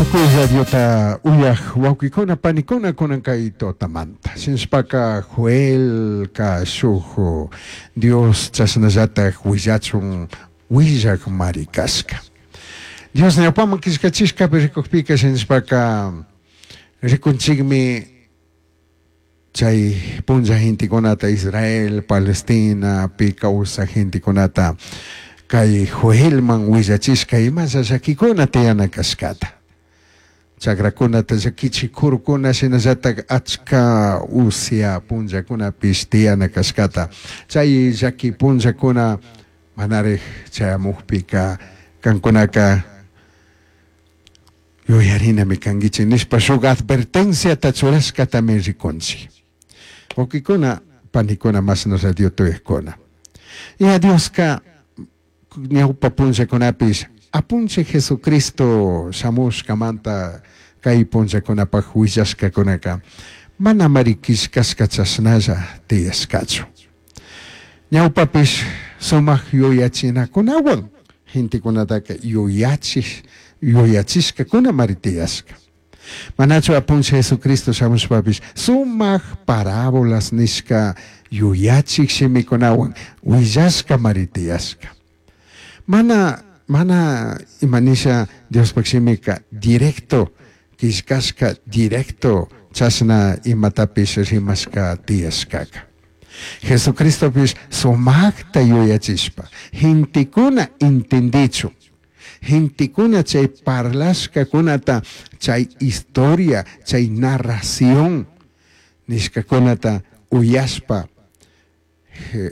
Tukuy radiota uyaj wawkikuna panikuna kunan kay tutamanta. Shinashpaka Joelka shuj Dios chashnallataj huillachun huillaj mari cashca. Dios ñawpaman killkachishkapi rikujpika shinashpaka rikunchikmi chay punlla gentekunata Israel, Palestinapi kawsaj gentekunata kay Joelman willachishka imalla llakikuna tiyana kashkata. Chakrakunata llakichik kurukuna shinallatak achka usya punllakunapish tiyana kashkata. Chay llaki punllakuna manarik chayamukpika kankunaka yuyarinami kankichik nishpa shuk advertenciata churashkatami rikunchik. Wawkikuna, panikuna, mashna radio tuyajkuna. Ya Dioska ñawpa punllakunapish Apunchik Jesucristo shamushkamanta kay punllakunapak willashkakunaka manamari killkashka chashnalla tiyashkachu. Ñawpapish sumak yuyachinakunawan gentekunataka yuyachik yuyachishkakunamari tiyashka. Manachu Apunchik Jesucristo shamushpapish sumak parábolas nishka yuyachik shimikunawan willashkamari tiyashka. Mana mana ima nisha Diospak shimika directo killkashka directo chashna imatapish rimashka tiyashkaka. Jesucristopish sumakta yuyachishpa gentekuna entendichun gentekuna chay parlashkakunata chay historia chay narración nishkakunata uyashpa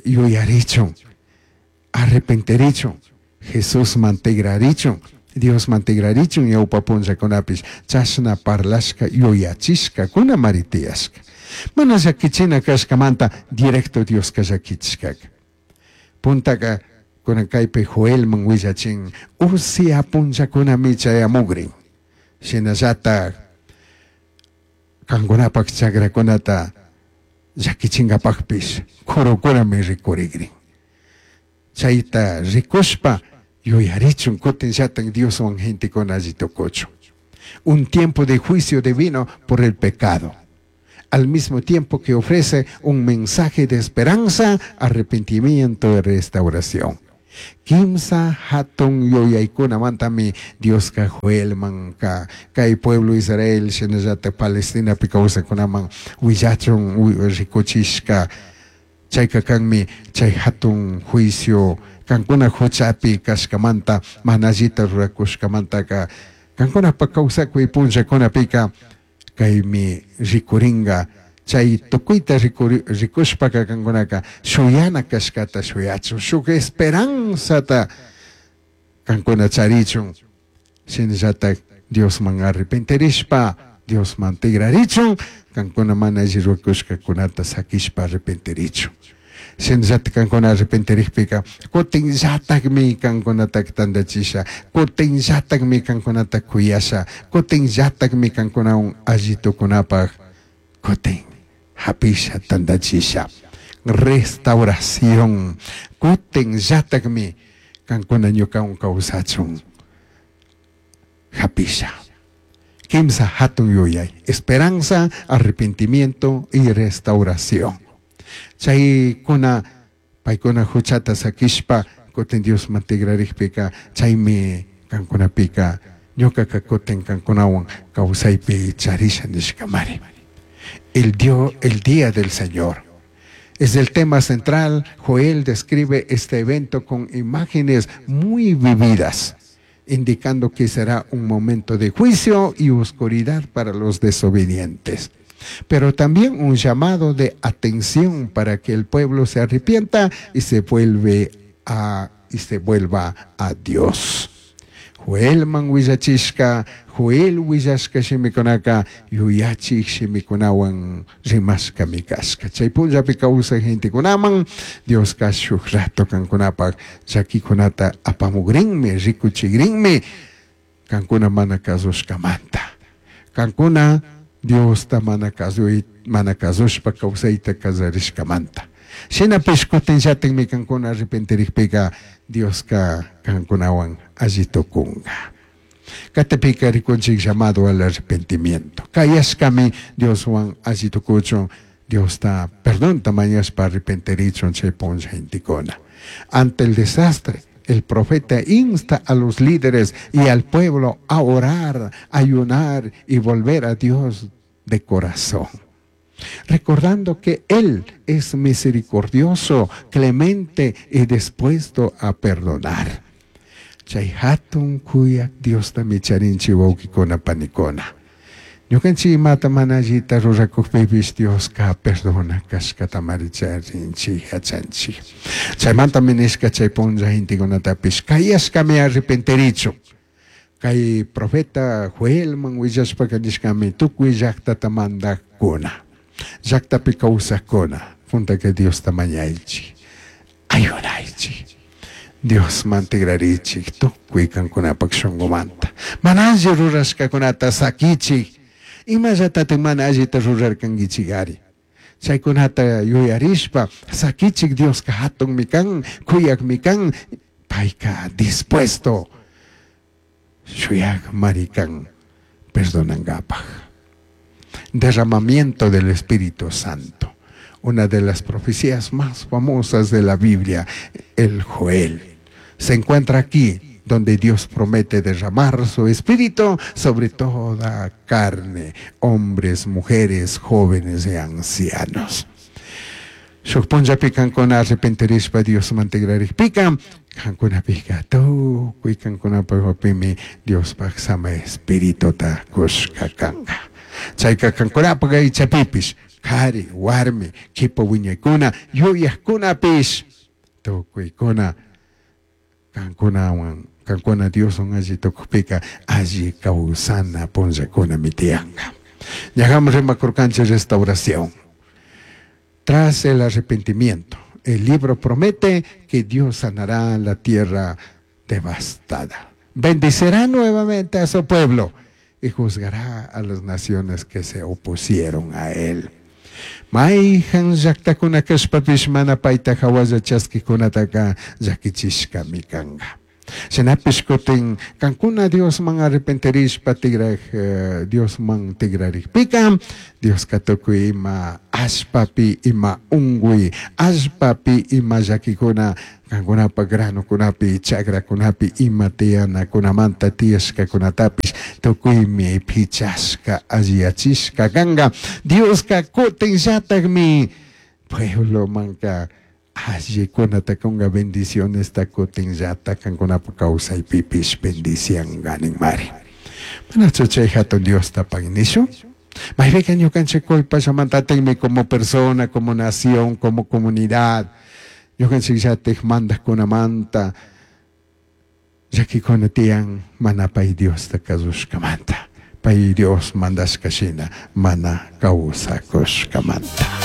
yuyarichun arrepentirichun Jesusman tigrarichun Diosman tigrarichun ñawpa punllakunapish chashna parlashka yuyachishkakunamari tiyashka. Mana llakichina kashkamanta directo Dioska llakichishkaka. Puntaka kunan kaypi Joelman willachin usya punllakunami chayamugrin. Shinallatak kankunapak chakrakunata llakichinkapakpish kurukunami rikurigrin. Chayta rikushpa yuyarichun kutinllatan Dioswan gentekuna alli tukuchun. Un tiempo de juicio divino por el pecado. Al mismo tiempo que ofrece un mensaje de esperanza, arrepentimiento y restauración. Kimsa hatun yuyaykunamantami Dioska Joelman ka kay pueblo Israel shinallata Palestinapi kawsaykunaman willachun rikuchishka chayka kanmi chay hatun juicio kankuna huchapi kashkamanta mana allita rurakushkamantaka kankunapak kawsakuy punllakunapika kaymi rikurinka chay tukuyta rikushpaka kankunaka shuyana kashkata shuyachun shuk esperanzata kankuna charichun shinallatak Diosman arrepentirishpa Diosman tigrarichun kankuna mana alli rurakushkakunata sakishpa arrepentirichun shinallatak kankuna arrepentirikpika kutinllatakmi kankunataka tandachisha kutinllatakmi kankunata kuyasha kutinllatakmi kankunawan alli tukunapak kutin hapisha tandachisha restauración kutinllatakmi kankuna ñukawan kawsachun hapisha. Kimsa hatun yuyay esperanza, arrepentimiento y restauración. Chaykuna paykuna huchata sakishpa kutin Diosman tigrarikpika chaymi kankunapika ñukaka kutin kankunawan kawsaypi charisha nishkamari. El Dios, el día del Señor. Es el tema central. Joel describe este evento con imágenes muy vividas, indicando que será un momento de juicio y oscuridad para los desobedientes, pero también un llamado de atención para que el pueblo se arrepienta y se vuelva a Dios. Joelman willachishka, Joel willashka shimikunaka yuyachik shimikunawan rimashkami kashka. Chay punllapi kawsaj gentekunaman Dioska shuk rato kankunapak llakikunata apamugrinmi, rikuchigrinmi kankuna mana kasushkamanta. Kankuna Diosta mana kasuy, mana kasushpa kawsayta kallarishkamanta. Shinapish kutinllatikmi kankuna arrepentirikpika Dioska kankunawan alli tukunga. Katipika rikunchik llamado al arrepentimiento. Kayashkami Dioswan alli tukuchun, Diosta perdonta mañashpa arrepentirichun chay punlla gentekuna. Ante el desastre, el profeta insta a los líderes y al pueblo a orar, ayunar y volver a Dios de corazón. Recordando que Él es misericordioso, clemente y dispuesto a perdonar. Chay hatun kuyak Diosta charinchik wawkikuna panikuna. Ñukanchik imata mana allita rurakukpipish Dioska perdona kashkatamari charinchik yachanchik. Chaymantami nishka chay punlla gentekunatapish kayashkami arrepentirichun. Kay profeta Joelman willashpaka nishkami tukuy llaktata mandakuna, llaktapi kawsakuna, puntaka Diosta mañaychik, ayunaychik. Diosman tigrarichik tukuy kankunapak shunkumanta. Mana alli rurashkakunata sakichik. Imallatatik mana allita rurarkankichik ari. Chaykunata yuyarishpa sakichik Dioska hatunmi kan, kuyakmi kan, payka dispuesto shuyakmari kan perdonankapaj. Derramamiento del Espíritu Santo. Una de las profecías más famosas de la Biblia, el Joel. Se encuentra aquí donde Dios promete derramar su espíritu sobre toda carne, hombres, mujeres, jóvenes y ancianos. Shuk punllapi kankuna arrepentirishpa Diosman tigrarikpika, kankunapika tukuy kankunapakpimi Diospaj sama espirituta kushka kanka. Chayka kankunapak aychapipish, kari, warmi, kipa wiñaykuna, yuyakkunapish, tukuykuna kankunawan, kankuna Dioswan alli tukukpika alli kawsana punllakunami tiyanka. Ñajam rimakurkanchik restauración. Tras el arrepentimiento, el libro promete que Dios sanará la tierra devastada. Bendicirá nuevamente a su pueblo y juzgará a las naciones que se opusieron a él. Mayhan llaktakuna kashpapish mana payta hawalla chaskikunataka llakichishkami kanka. Shinapish kutin kankuna Diosman arrepentirishpa tigraj Diosman tigrarikpika Dioska tukuy ima allpapi ima unkuy allpapi ima llakikuna kankunapak granokunapi chakrakunapi ima tiyanakunamanta tiyashkakunatapish tukuymi pichashka alliyachishka kanka. Dioska kutinllatakmi pueblomanka allikunata kunga bendicionesta kutinllata kankunapak kawsaypipish bendicianka ninmari. Manachu chay hatun Diosta pagui nishun? Maypika ñukanchik culpallamantatikmi como persona, como nación, como comunidad. Ñukanchikllatik mandakkunamanta llakikuna tiyan mana pay Diosta kasushkamanta. Pay Dios mandashka shina mana kawsakushkamanta.